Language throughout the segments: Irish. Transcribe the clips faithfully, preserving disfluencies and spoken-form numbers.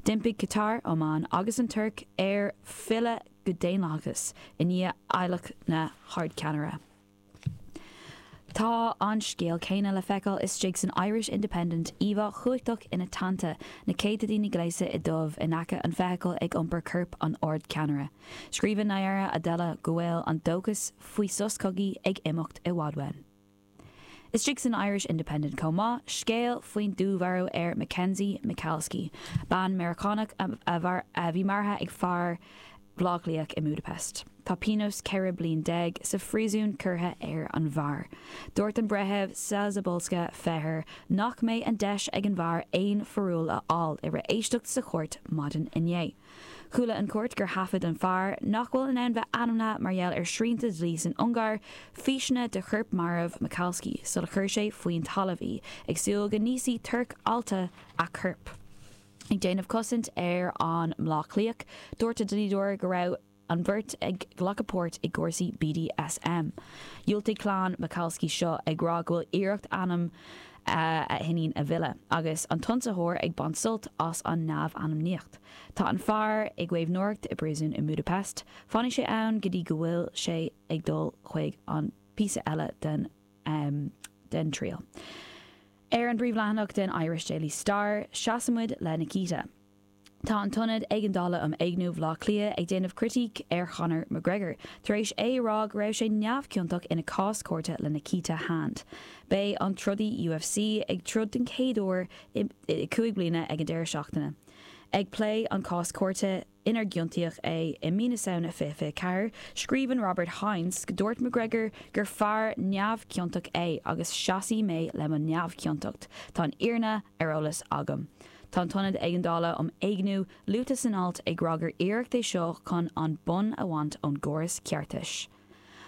D'impigh Catar, Oman agus an Tuirc ar filleadh go daonlathas i ndiaidh adhlacadh na hardcheannaire. Tá an scéal céanna le feiceáil istigh san Irish Independent íomhá chumhachtach ina teannta na céadta daoine gléasta i dubh in aice an feithicil ag iompar corp an ardcheannaire. Scríobhann Nayyirah Abdela go bhfuil an dóchas faoi sos cogaidh ag imeacht i bhfad uainn. Istigh san Irish Independent chomh maith, scéal faoin dúmharú ar Mackenzie Michalski, bean Meiriceánach a bhí maraithe ag fear Bhaile Átha Cliath i Budapest. Tá pionós ceithre bliana déag sa phríosún curtha ar an bhfear. Dúirt an breitheamh Czebolska Feher nach mbeidh an deis ag an bhfear aon pharúil a fháil i rith éisteacht sa chúirt maidin inné. Chuala an chúirt gur thaifead an fear nach bhfuil in ann bheith ainmnithe mar gheall ar shrianta dlí san Ungáir, físeanna de chorp marbh Michalski sula chuir sé faoin talamh í, ag súil go n-íosfaidh torc allta a corp. Ag déanamh cosaint ar an mBleá Cliathach, dúirt a dlíodóir go raibh an bheirt ag glacadh páirt i gcúrsaí BDSM. Dhiúltaigh clann Michalski seo ag rá go bhfuil iarracht ainm a hiníon a mhilleadh, agus an t-ionsaitheoir ag baint sult as an neamh-ainmníocht. Tá an fear i gcaomhnóireacht i bpríosún i Budapest, fanfaidh sé ann go dtí go bhfuil sé ag dul chuig an píosa eile den um, den triail. Ar an bpríomhleathanach den Irish Daily Star, seasaimid le Nikita. Tá an tIonad Éigeandála um Éigniú Bhaile Átha Cliath ag déanamh critíc ar Conor McGregor, tar éis é rá go raibh sé neamhchiontach ina cás cúirte le Nikita Hand. Beidh an trodaí UFC ag troid den chéad uair i cúig bliana ag an deireadh seachtaine. Ag plé an cás cúirte inar ciontaíodh é i mí na Samhna fiche fiche ceathair, scríobhann Robert Hines go dúirt McGregor gur fear neamhchiontach é agus seasfaidh mé le mo neamhchiontacht, Tá an fhírinne ar eolas agam. Tá an tIonad Éigeandála um Éigniú luaite san alt ag rá gur iarracht é seo chun an bonn a bhaint ón gcóras ceartais.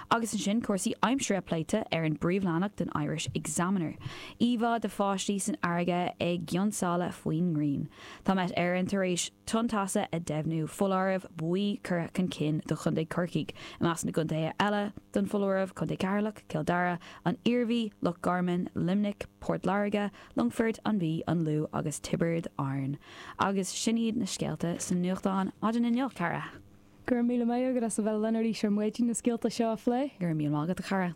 Agus ansin cúrsaí aimsire pléite ar an bpríomhleathanach den Irish Examiner. Íomhá de pháistí san fharraige ag geansáil faoin ngrian. Tá Met Éireann tar éis tonn teasa a dheimhniú foláireamh buí curtha chun cinn do Chontae Chorcaí, i measc na gcontaetha eile don foláireamh Contae Cheatharlach, Cill Dara, an Iarmhí, Loch Garman, Luimneach, Port Láirge, Longfort, an Mhí, an Lú agus Tiobraid Árann. Agus sin iad na scéalta sa nuachtán maidin inniu cara. Gur míle maith agat as a bheith linn arís ar maidin na scéalta seo a phlé. Gur míle maith agat a chara.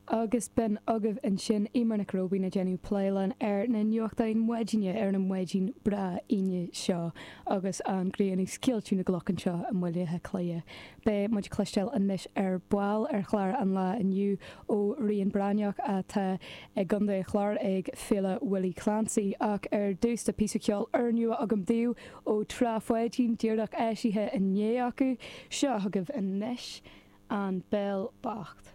Agus b'in agaibh ansin Eimear Nic Róibín ag déanamh plé linn ar na nuachtáin maidine ar an maidin breá Aoine seo agus an ghrian ag scoilteadh na gcloch anseo i mBaile Átha Cliath. Beidh muid ag cloisteáil anois ar ball ar chlár an lae inniu ó Rian Breathnach atá i gContae an Chláir ag Féile Willie Clancy ach ar dtús tá píosa ceoil úrnua agam daoibh ó Trá Pháidín díreach eisithe inné acu seo agaibh anois an Béal Bocht.